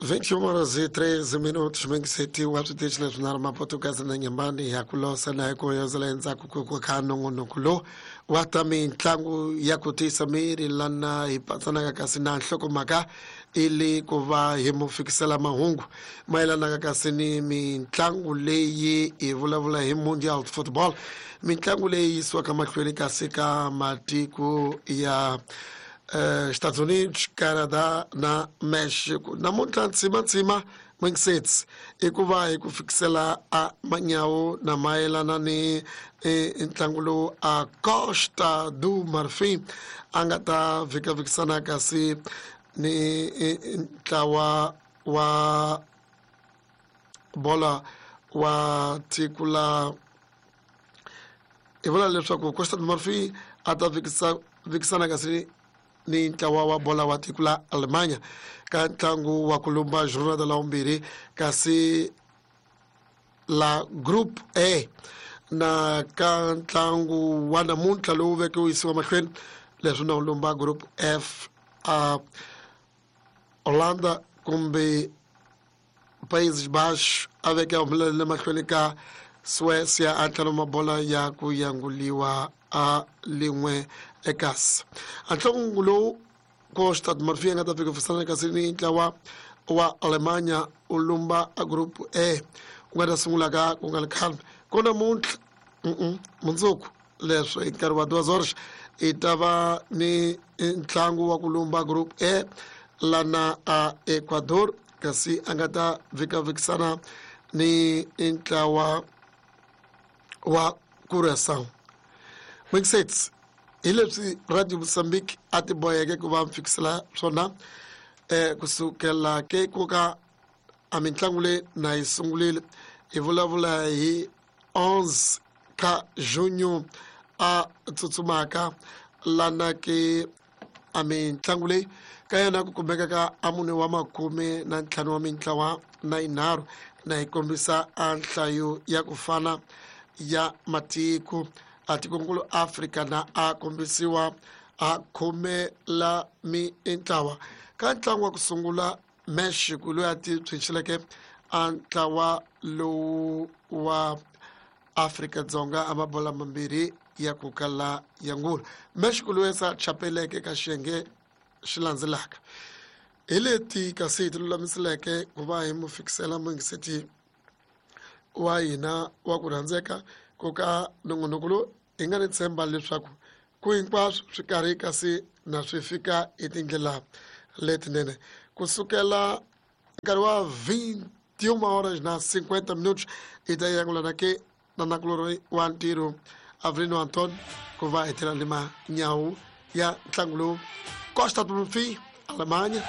21 horas e 13 minutos mengiseti wa switichi leswinharhu Mapotukazi na Nyambani ya ku losa na hi ku hoyozela endzhaku ku kha nongonoko lowu wa ta mitlangu ya ku tiyisa miri lana hi patsanaka kasi na nhlokomhaka i le ku va hi mu fikisela mahungu mayelanaka kasi ni mitlangu leyi hi vulavula hi Mundial Football, mitlangu leyi yisiwaka mahlweni kasi ka matiko ya Estados Unidos, Canada na Mexico. Namuntlha ntsimatsima Wingsets i ku va hi ku fikisela a manyawu na mayelana ni ntlangu lowu a Costa do Marfim a nga ta vhikavhikisana kasi ni ntlawa wa bola wa tiko la hi vula leswaku Costa do Marfim a ta vikisana kasi ni ntlawa wa bola wa tiko la Alemanya ka ntlangu wa ku lumba jornada la vumbirhi kasi la Group A, na ka ntlangu wa namuntlha lowu veke wu yisiwa mahlweni leswi na wu lumba Group F, a Holanda kumbe Países Baixos a veke a humelele mahlweni ka Suécia a tlhelo mabola ya ku yanguliwa a lin'we ekasi. A ntlangu lowu Costa do Marfim nga ta fika fisana kasi ni ntlawa wa Alemanya u lumba a Group A ku nga ta sungula ka ku nga ri khale ko namuntlha mundzuku leswi hi nkarhi wa duas horas i ta va ni ntlangu wa ku lumba Group A lana a Ecuador kasi a nga ta vhikavhikisana ni ntlawa wa Curaçao. Mixets hi leswi Radio Mozambique a ti boheke ku va fikisela swona kusukela ke ku ka a mitlangu leyi na yi sungurile hi vulavula hi 11 ka junho a tsutsumaka lana ke a mitlangu leyi ka yona ku kumeka ka a mune wa makume na ntlhanu wa mintlawa na yinharhu na yi kombisa a nhlayo ya ku fana ya matiko a tikonkulu Afrika na a kombisiwa a khume la mintlawa. Ka ntlangu wa ku sungula Mexico loyi a ti tshunxeleke a ntlawa lowu wa Afrika-Dzonga a mabola mambirhi ya ku kala ya ngula. Mexico loyi sa chapeleke ka xiyenge xi landzelaka. Hi leti kasi hi ti lulamiseleke ku va hi mu fikisela muyingiseti wa hina wa ku rhandzeka ku ka nongonoko lowu hi nga ni tshemba leswaku ku hinkwaswo swi karhi kasi na swi fika hi tindlela letinene kusukela nkarhi wa 21 horas na 50 minutos hi ta yangulana ke na nakulorhi wa ntirho Avelino Anton ku va hi tlhela ni manyawu ya ntlangu lowu Costa do Marfim, Alemanha.